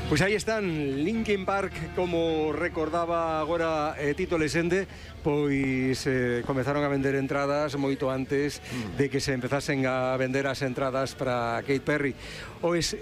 Pois aí están, Linkin Park, como recordaba agora Tito Lesende, pois comezaron a vender entradas moito antes de que se empezasen a vender as entradas para Katy Perry. Pois,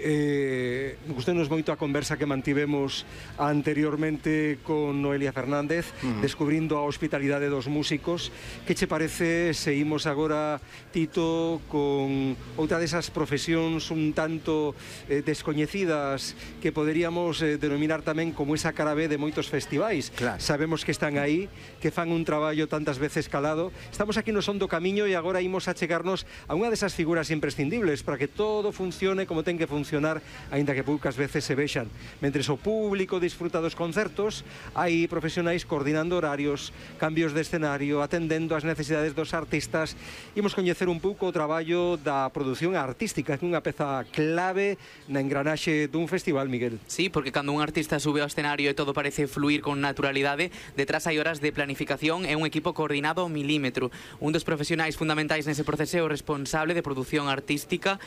gustou-nos moito a conversa que mantivemos anteriormente con Noelia Fernández, descubrindo a hospitalidade dos músicos. Que che parece se imos agora, Tito, con outra desas profesións un tanto descoñecidas que poderíamos denominar tamén como esa cara B de moitos festivais? Claro. Sabemos que están aí, que fan un traballo tantas veces calado. Estamos aquí no Son do Camiño e agora imos a chegarnos a unha desas figuras imprescindibles para que todo funcione como ten que funcionar, aínda que poucas veces se vexan. Mentres o público disfruta dos concertos, hai profesionais coordinando horarios, cambios de escenario, atendendo as necesidades dos artistas. Imos coñecer un pouco o traballo da produción artística, que é unha peza clave na engranaxe dun festival, Miguel. Sí, porque cando un artista sube ao escenario e todo parece fluir con naturalidade, detrás hai horas de planificación e un equipo coordinado ao milímetro. Un dos profesionais fundamentais nese proceso é o responsable de produción artística,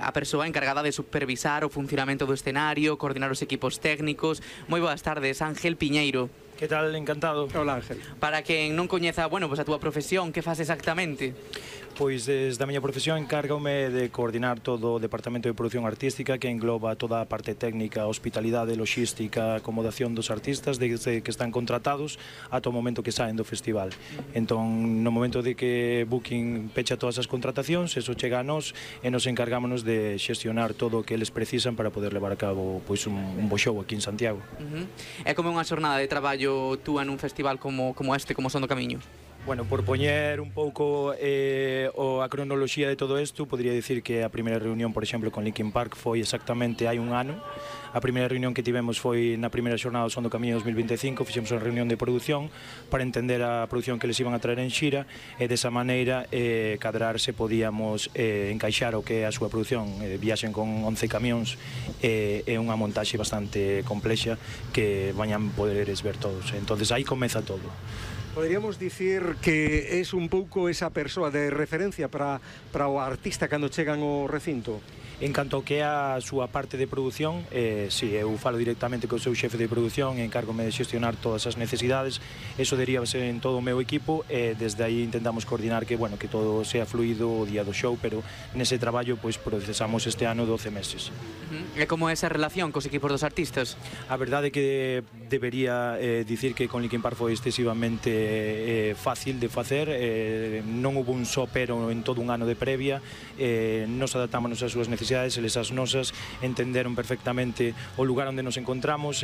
a persoa encargada de supervisar o funcionamento do escenario, coordinar os equipos técnicos. Moi boas tardes, Ángel Piñeiro. Que tal, encantado. Hola, Ángel. Para quen non coñeza, bueno, pues a túa profesión, que fas exactamente? Pois desde a miña profesión encárgame de coordinar todo o departamento de produción artística, que engloba toda a parte técnica, hospitalidade, logística, acomodación dos artistas desde que están contratados ata o momento que saen do festival. Entón, no momento de que Booking pecha todas as contratacións, eso chega a nós e nos encargámonos de xestionar todo o que eles precisan para poder levar a cabo pois un bo show aquí en Santiago. É como unha xornada de traballo túa nun festival como este, como Son do Camiño? Bueno, por poñer un pouco a cronoloxía de todo isto, podría dicir que a primeira reunión, por exemplo, con Linkin Park foi exactamente hai un ano. A primeira reunión que tivemos foi na primeira xornada do Son do Camiño 2025, fixemos unha reunión de produción para entender a produción que les iban a traer en xira e desa maneira cadrar se podíamos encaixar o que é a súa produción. Viaxen con 11 camións e unha montaxe bastante complexa que vañan poderes ver todos. Entonces aí comeza todo. Poderíamos dicir que es un pouco esa persoa de referencia para o artista cando chegan ao recinto? En canto ao que é a súa parte de produción, si, eu falo directamente co seu xefe de produción e encárgome de xestionar todas as necesidades. Eso derívase en todo o meu equipo e desde aí intentamos coordinar que, bueno, que todo sea fluido o día do show, pero nese traballo pois procesamos este ano 12 meses. E como é esa relación cos equipos dos artistas? A verdade é que debería dicir que con Linkin Park foi excesivamente fácil de facer, non hubo un só pero en todo un ano de previa, nos adaptámonos ás súas necesidades, eles as nosas, entenderon perfectamente o lugar onde nos encontramos.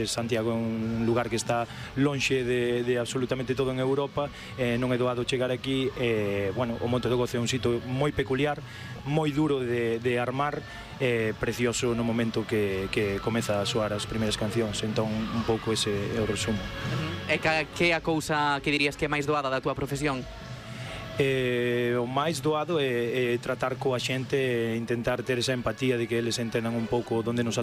Santiago é un lugar que está lonxe de absolutamente todo en Europa, non é doado chegar aquí. Bueno, o Monte do Gozo é un sitio moi peculiar, moi duro de armar, precioso no momento que comeza a soar as primeiras cancións. Entón, un pouco ese é o resumo. E que é a cousa que dirías que é máis doada da túa profesión? O máis doado é tratar coa xente e intentar ter esa empatía de que eles entendan un pouco onde nos